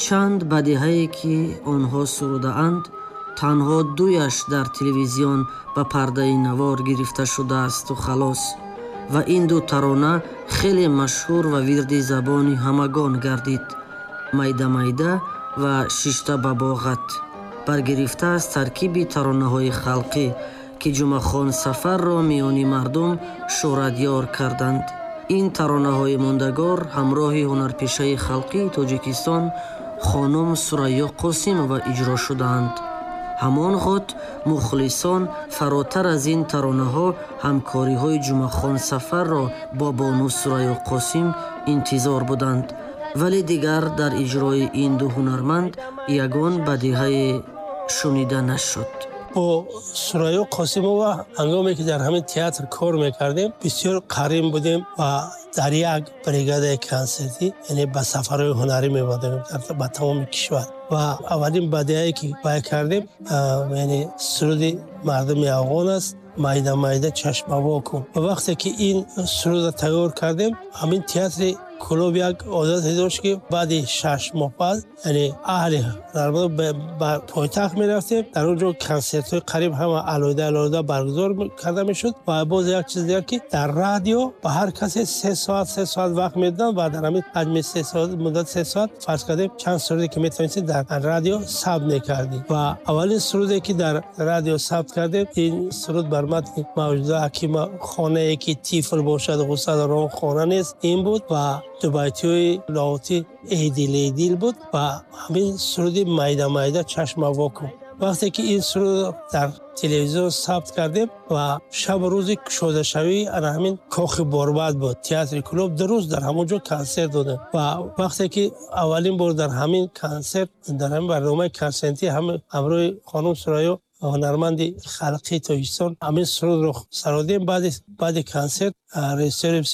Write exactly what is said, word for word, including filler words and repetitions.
Чанд бадиҳае ки онҳо сурудаанд, танҳо дуяш дар телевизион ба пардаи навор гирифта шудаасту халос. Ва ин ду тарона хеле машҳур ва вирди забони ҳамагон гардид: «Майда-майда» ва «Шишта ба боғат», баргирифта аз таркиби таронаҳои халқӣ, ки Ҷумъахон Сафарро миёни мардум шӯҳратёр карданд. Ин таронаҳои мондагор ҳамроҳи ҳунарпешаи халқии Тоҷикистон хонум Сурайё Қосимова иҷро шудаанд. Ҳамон ғот мухлисон фаротар аз ин таронаҳо ҳамкориҳои Ҷумъахон Сафарро бо бону Сурайё Қосим интизор буданд, вале дигар дар иҷрои ин ду ҳунарманд ягон бадиҳае шунида нашуд. Бо Сурайё Қосимова ҳангоме ки дар ҳамин театр кор мекардем, бисёр қарин будем ва дар як бригадаи консертӣ, яъне ба сафарҳои ҳунарӣ мебодем ба тамоми кишвар. Ва аввалин бадиҳае ки бай кардем, яъне суруди мардуми афғон аст, «Майда майда чашма во кун». Ва вақте ки ин сурудро тайёр кардем, ҳамин театри Кӯлоб як одате дошт, ки баъди шаш моҳ пас, яъне аҳли ҳунарманд, ба пойтахт мерафтем. Дар он ҷо консертҳои қариб ҳама алоҳида алоҳида баргузор карда мешуд. Ва боз як чиз дигар, ки дар радио ба ҳар касе се соат се соат вақт медоданд ва дар ҳамин ҳаҷми се соат, муддати се соат, фарз кардем, чанд суруде ки метавонистед, дар радио сабт мекардем. Ва аввалин суруде ки дар радио сабт кардем, ин суруд бар матни Мавҷуда Ҳакима «Хонае ки тифл бошад, ғусса дар он хона нест», ин буд ва дубайтиҳои Лоҳутӣ «Эй дил, эй дил» буд ва ҳамин суруди «Майда майда чашма во кун». Вақте ки ин суруд дар телевизион сабт кардем ва шабу рӯзи кушодашавии ана ҳамин Кохи Борбад буд, театри Кӯлоб, ду рӯз дар ҳамон ҷо консерт додем. Ва вақте ки аввалин бор дар ҳамин консерт, дар ҳамин барномаи консертӣ ҳамроҳи хонум Сурайё, ҳунарманди халқии Тоҷикистон, ҳамин сурудро сародем, баъди баъди консерт режиссёри